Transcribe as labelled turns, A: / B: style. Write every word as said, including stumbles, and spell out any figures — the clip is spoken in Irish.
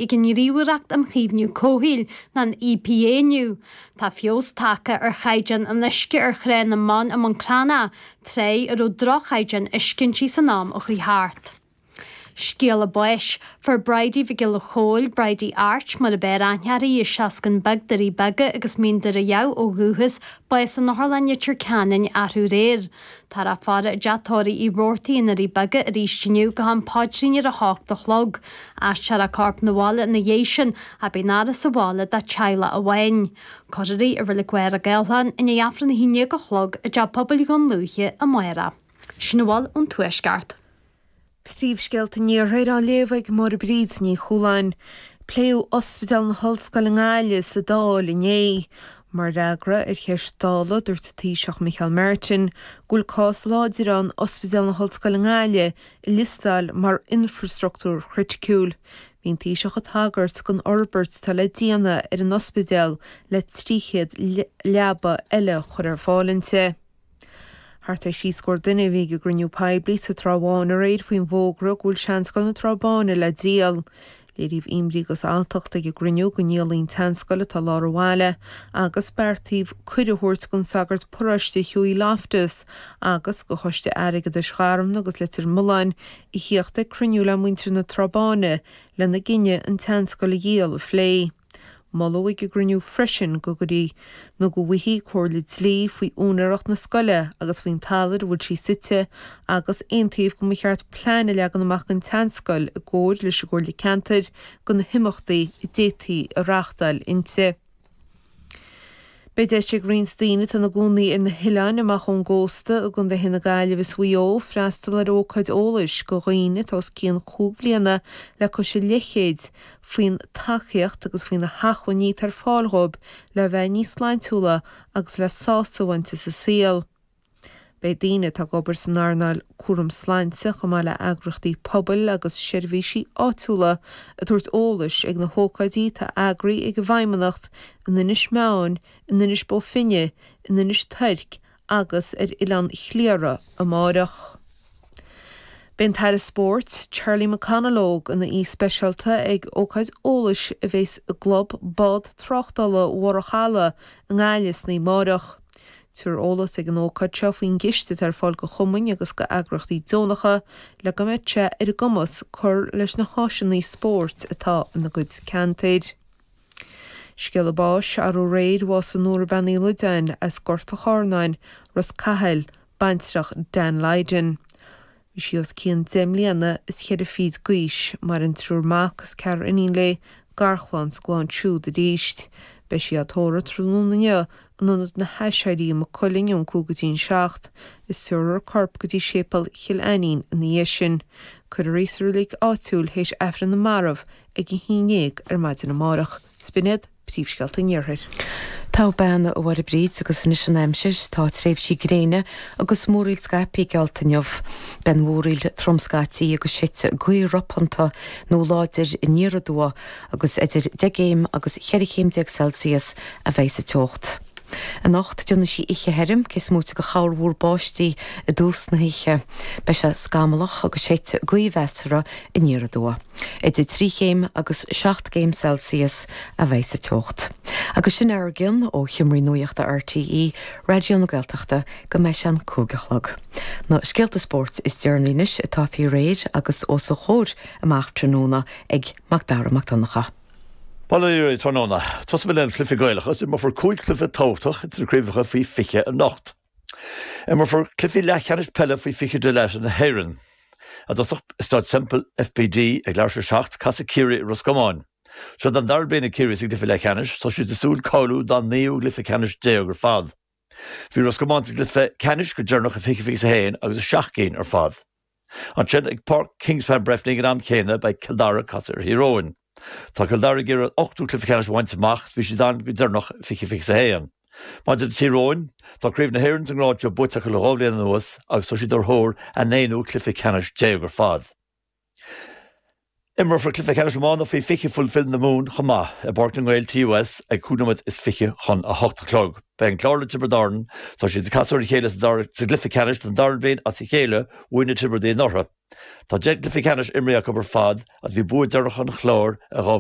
A: ag an nGníomhaireacht um Chaomhnú Comhshaoil ná an EPA inniu. Tá feabhas tagtha ar chaighdeán an uisce ar Thrá na mBan i mBun Cranncha, trá a raibh droch-chaighdeán uisce inti san am a chuaigh thart. Scéala báis, Fuair Bridie Mhic Giolla Chóill, Bridie Art mar ab fhearr aithne uirthi, as Seascann Beag, Doirí Beaga agus Mín Doire Dhamh ó dhúchas, bás in Otharlann Leitir Ceanainn arú aréir. Táthar á faire i dteach tórraimh Uí Robhartaigh i nDoirí Beaga arís inniu go ham paidrín ar a hocht a chlog. Aistreofar a corp 'na bhaile ina dhiaidh sin ach beidh an fhaire sa bhaile dá teaghlach amháin. Cuirfear í i Reilig Mhachaire Gathlán i ndiaidh Aifreann a haon déag a chlog i dTeach Pobail Dhún Lúiche amárach. Sin a bhfuil ón Tuaisceart.
B: Príomhscéalta an Iarthair á léamh ag Máire Bríd Ní Chualáin. Pléadh Ospidéal na hOllscoile i nGaillimh sa Dáil inné. Mar fhreagra ar cheist Dála, dúirt an Taoiseach Micheál Martin go bhfuil cás láidir ann Ospidéal na hOllscoile i nGaillimh a liostáil mar infreastruchtúr criticiúil. Bhí an Taoiseach ag tagairt don fhorbairt atá le déanamh ar an ospidéal le trí chéad leaba eile a chur ar fáil inti. Thart ar thrí scór duine a bhí ag an gcruinniú poiblí sa Trá Bháin aréir faoin bhfógra go bhfuil Seanscoil na Trá Báine le díol. Léiríodh imní agus alltacht ag an gcruinniú go ndíolfaí an tseanscoil atá i lár an bhaile agus beartaíodh cuireadh a thabhairt don sagart paróiste Hughie Loftus agus do Choiste Airgeadais Gharmna agus Leitir Mealláin a thíocht ag cruinniú le muintir na Trá Báine lena gcinneadh an tseanscoil a dhíol a phlé. Moladh ag an gcruinniú freisin go gcuirfí nó go bhfaighfí comhairle dlí faoi úinéireacht na scoile agus faoin talamh ar a bhfuil sí suite agus aontaíodh go mba cheart plean a leagan amach don tseanscoil i gcomhar leis an gComhairle Ceantair do na himeachtaí a d'fhéadfaí a reáchtáil inti. Beidh deis ag roinnt daoine atá ina gcónaí ar na hoileáin amach ón gcósta i gcontaetha na Gaillimhe is Mhaigh Eo freastal ar ócáid eolais do dhaoine atá os cionn chúig bliana le cois a leathchéid faoin tacaíocht agus faoi na hacmhainní atá ar fáil dhóibh le bheith níos sláintiúla agus le sásamh a bhaint as an saol. Beidh daoine atá ag obair san earnáil cúram sláinte chomh maith le heagraíochtaí pobail agus seirbhísí áitiúla ag tabhairt eolais ag na hócáidí atá eagraithe ag an bhFeidhmeannacht in Inis Meáin, in Inis Bó Finne, in Inis Toirc agus ar Oileán Chliara amárach. Beidh an tAire Spóirt, Charlie McConalogue, ina aoi speisialta ag ócáid eolais a bheas i gClub Bád Tráchtála Bharr an Chalaidh i nGaillimh san oíche amárach. Tabharfar eolas ag an ócáid seo faoin gciste atá ar fáil do chumainn agus d'eagraíochtaí deonacha le go mbeidh sé ar a gcumas cur leis na háiseanna spóirt atá ina gcuid ceantair. Scéala báis, Arú aréir, bhásaigh Nóra Bean Uí Loideáin as Gort an Chornáin, Ros Cathail, baintreach Dan Lydon. Bhí sí os cionn deich mbliana is cheithre fichid d'aois, maireann triúr mac is ceathrar iníon léi, garchlann 's a gclann siúd arís. Beidh sí á tórramh tráthnóna inniu in Ionad na hAiséirí i Maigh Cuilinn ón cúig go dtí an seacht, is tabharfar a corp go dtí Séipéal Chill Ainnín ina dhiaidh sin. Cuirfear í sa reilig áitiúil théis Aifreann na Marbh ag a haon déag ar maidin amárach. 'S b'in iad príomhscéalta an Iarthair.
C: Togha bean, a Mháire Bríd, agus anois an aimsir. Tá tréimhsí gréine agus múraíl scaipthe geallta inniu. Beidh an mhúraíl trom scaití agus séidfidh gaoth ropánta nó láidir aniar aduaidh agus idir deich gcéim agus cheithre chéim déag Celsius a bheidh sa teocht. Anocht, déanfaidh sí oíche thirim, cé is móite de chorrmhúr báistí i dtús na hoíche. Beidh sé scamallach agus séidfidh gaoth mheasartha aniar aduaidh. Idir trí chéim agus seacht gcéim Celsius a bheidh sa teocht. Agus sin ár gcion ó Sheomraí Nuachta RTÉ Raidió na Gaeltachta go mbeidh sé an cúig a chlog. Na scéalta spóirt is deireanaí anois atá faoi réir agus os a chomhair amach tráthnóna ag Mac Dara Mac Donncha.
D: Bail ó Dhia oraibh tráthnóna. Tosóidh mé le cluichí Gaelacha is imreofar cúig chluiche tábhachtach ins na craobhacha faoi fiche anocht. Imreofar cluichí leathcheannais peile faoi fiche de na hÉireann. I dtosach i Staid Semple FBD ag leathuair tar éis a seacht, casfaidh Ciarraí ar Ros Comáin. Seo don dara bliain ag Ciarraí sa gcluiche leathcheannais, tá siad ag súil cáiliú dá naoú gcluiche ceannais déag ar fad. Bhí Ros Comáin sa gcluiche ceannais go deireanach i fiche fiche a haon agus a seacht gcinn ar fad. Ansin ag Páirc Kingspan Breffni ag an am céanna beidh Cill Dara ag casadh ar Thír Eoghain. Tá Cill Dara ag iarraidh an ochtú cluiche ceannais a bhaint amach is bhí siad ann go deireanach i fiche fiche a haon. Maidir le Tír Eoghain, tá Craobh na hÉireann sa ngrád seo buaite acu le dhá bhliain anuas agus tá siad ar thóir a n-aonú cluiche ceannais déag ar fad. Imreofar cluiche ceannais iomána faoi fiche Fulfil na Mumhan chomh maith i bPáirc na nGael TUS ag cúig nóiméad is fiche chun a hocht a chlog. Beidh an Clár le Tiobraid Árann, tá siad ag casadh ar a chéile sa gcluiche ceannais don dara bliain as a chéile, bhuaigh na Tiobradaigh anuraidh. Tá deich gcluiche ceannais imrithe acu ar fad agus bhí bua deireanach an Chláir i dhá mhíle